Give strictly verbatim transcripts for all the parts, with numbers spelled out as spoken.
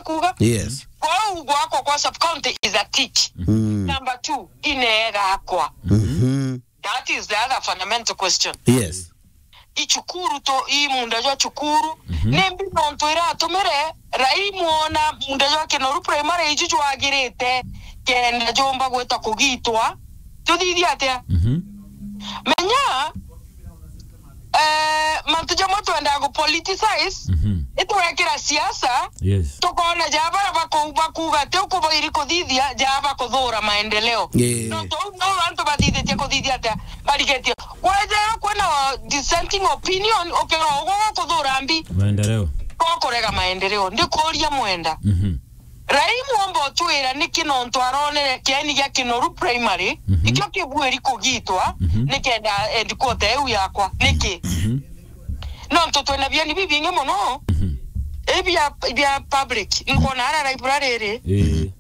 kuuga? Yes. Kwou gwakwa kwa sub county is a tick. Mm. Number two, ineegakwa. Mhm. That is the other fundamental question. Yes. I cukuru tu, i munda jwa cukuru. Mhm. Nimbi nontu iratumire rai mwona munda jwa Kinoru Primary iju jwagirite kenda jumba gwita kugitwa? Tuthithie atia? Mhm. Menya, eh, mantu jamwe twendaa gu politicize, mhm, itwekira siasa, yes, tukona ja bara baku-, bakuuga ti ukubairi kuthithia, ja bakuthura maendeleo. Yeah. No tou no antu bathithitie kuthithia atia? Barigetie. Kwethirwa kwina dissenting opinion, ukirwa ugwe gukuthura mbi. Maendeleo. Gukurega maendeleo. Ndikuria mwenda. Mhm. Rai mwomba utwira niki nontu aronere kieni gia Kinoru Primary, mhm, ikio kibuiri kugitwa, mhm, nikenda headquarter iu yakwa. Niki? Mhm. Nontu twina bieni bibingi muno. Mhm. Ibi bia, bia public. Nkona ara library iri. Ii.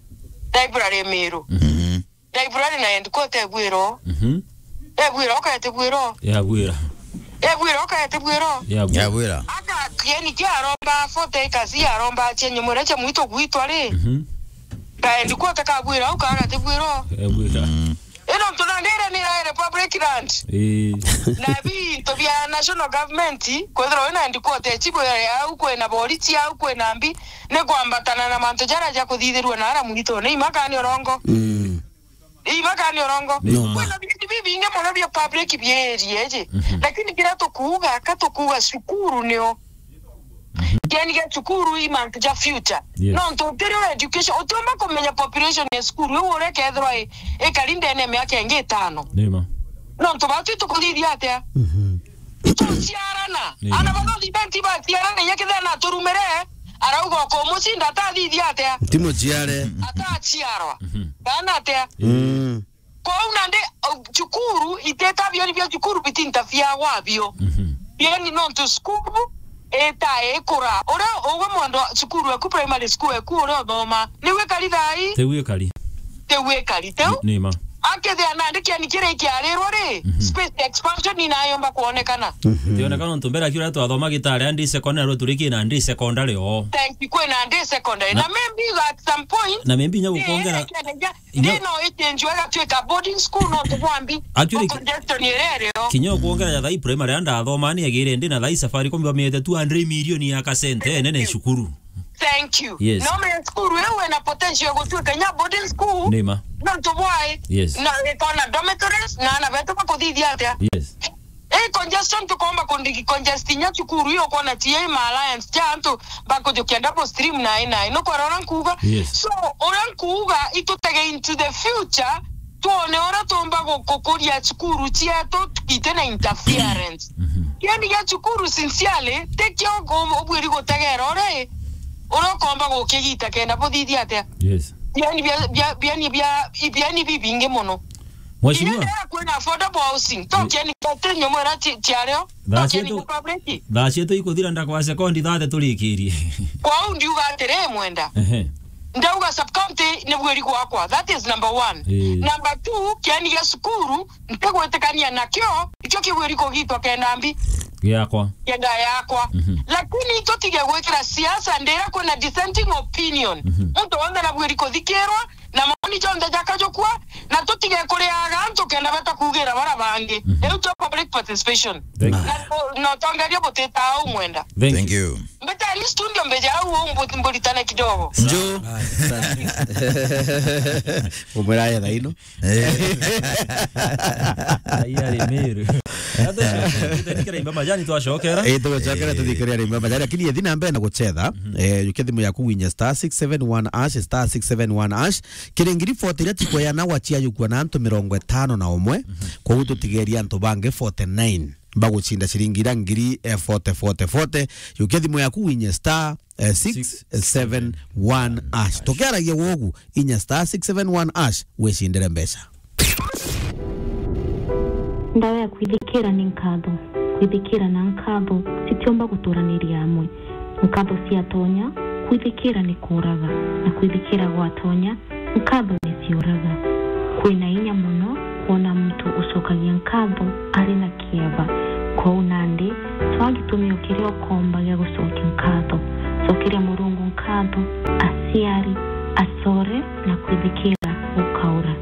Library Miru. Mhm. Library na headquarter ebwiro. Mhm. Ebwiro, ukaete bwiro. Yabwira. Ebwiro, ukaete bwiro. Yabwira. Yabwira. Aka kieni kia aromba forty acres, aromba chenye mwere cha mwito gwitwa ri. Mhm. Ka headquarter kabwira, ukaagate bwiro. Yabwira. Mm. Ino ntu nandi iria ni iraere public land. Ii. Na bintu bia national government, kwethirwa wina headquarter chibu ya au kwina boriti, au kwina mbi, ni kwambatana na mantu jaria ja kuthithirua na ara mwito. Ni imakani urongo. Mm. Imakani urongo. No. Kwina bintu bibingi muno bia public bierie ji. Mhm. Lakini kiria tukuuga, ka tukuuga cukuru nio. Mhm. Kieni gia cukuru i mantu ja future. Yes. Nontu utiri education, utiumba kumenya population ya cukuru iu uria kethirwa i, ikari ndene ya miaka ingi itano. Nima. Nontu batu tukuthithia atia? Mhm. Tuciarana. Nima. Ana bano thibenti baciarana, inya kethira naturumire, arauga ukumucinda atathithia atia? Timuciare. Ataciarwa. Mhm. Kana atia? Mm. Kwou nandi, uh, cukuru, iteta bioni bia cukuru bitinta biagwa bio. Mhm. Bioni nontu cukuru ita ikura. Uria ugwe mwana cukuru eku, primary school eku uria uthoma, niu ikari thai? Tiu ikari. Tiu ikari, tiu? Ni, ni ma. Akethia nandi kieni kiria ikiarirwo ri, mhm, space expansion inayomba kuonekana. Mhm. Tionekana nontu mbere akiuria twathoma Gitare andi secondary, rwo turikie nandi secondary o. Thank you, kwina andi secondary. Na, na maybe at some point, na maybe inya gukongera, eh, Inya- Ndino ichenjwa igatuika boarding school, no tubwambi. Actually, o congestion iria irio. Kinya ukwongerera thai primary anda athoma ni agire ndi na thai Safaricom bamiete two hundred million ya kasente nene cukuru. Thank you. Yes. No me school wewe na potential ya gutuika nya boarding school. Nima. No tubwai. Yes. Na ikona dormitories na ana betu bakuthithia atia? Yes. Ii congestion tukomba kundigi congest inya cukuru iyo kwona ti ii ma alliance ja antu bakujukia double stream nai nai. Nukwera uria nkuuga? Yes. So, uria nkuuga itutege into the future, twone uria tumba gu-, gukuria cukuru cietu tukite na interference. Mhm. Kieni gia cukuru sincerely, tikio u-, ubwiri gutegera uria i, uria ukomba gukigita kenda buthithia atia? Yes. Bieni bia, bia, bieni bia, bieni bibingi muno. Mheshimiwa. Inya ndia kwina affordable housing. To kieni kati nyomwera ti-, tiario. To kieni public. Thaa cietu ikuthira ndakwa sekondi thate turikirie. Kwou ndiuga atiri mwenda. Ehe. Ndauga sub county ni bwiri gwakwa. That is number one. Ii. Number two, kieni gia cukuru, ntigwitikania nakio, ikio kigwiri kugitwa kenda mbi. Giakwa. Kenda yakwa. Mhm. Lakini tutige gwikira siasa ndira kwina dissenting opinion. Mhm. Muntu wonthe nabwiri kuthikirwa, na maoni jonthe jakajukua, na tutige kuriaga antu kenda bata kuugira bara bangi. Mhm. Riu twa public participation. Thank you. Na, na utongeria butita au mwenda. Thank you. Thank you. Mbetani studio mbeja au mbu-, mburitane kidogo. Njo. Umwira ya thaino. Eh. Ai, ari Meru. Ate, tutanikira imba majani twacokera. Eh, tugucokera, eh, tuthikire rimwe majani, lakini yethi na mbere na gucetha. Mhm. Eh, yukia thimu yaku winye star six seven one hash, star six seven one hash. Kiri ngiri forty iria tikweana gwa ciayukua na antu mirongo itano na umwe. Mhm. Koguo tutigeria antu bangi forty nine bagucinda ciringi iria ngiri, eh, forty, forty, forty. Yukia thimu yaku winye star, eh, six seven one hash. Tukiaragia wogu, inya star six seven one hash, wicindire mbeca. Ndawa ya kwithikira ni nkatho. Kwithikira na nkatho citiumba guturaniria amwe. Nkatho ciatonya, kwithikira ni kuuraga, na kwithikira gwatonya, nkatho ni ciuraga. Kwina inya mono kwona muntu ucokagia nkatho ari na kieba. Kwou nandi, twaa gitumio kiria ukomba gia gucokia nkatho. Cokeria Murungu nkatho, aciari, acore na kwithikira gukaura.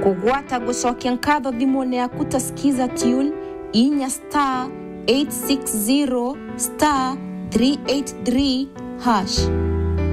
Kugwata gucokia nkatho thimune yaku ta Skiza Tune, inya star eight six zero star three eight three hash.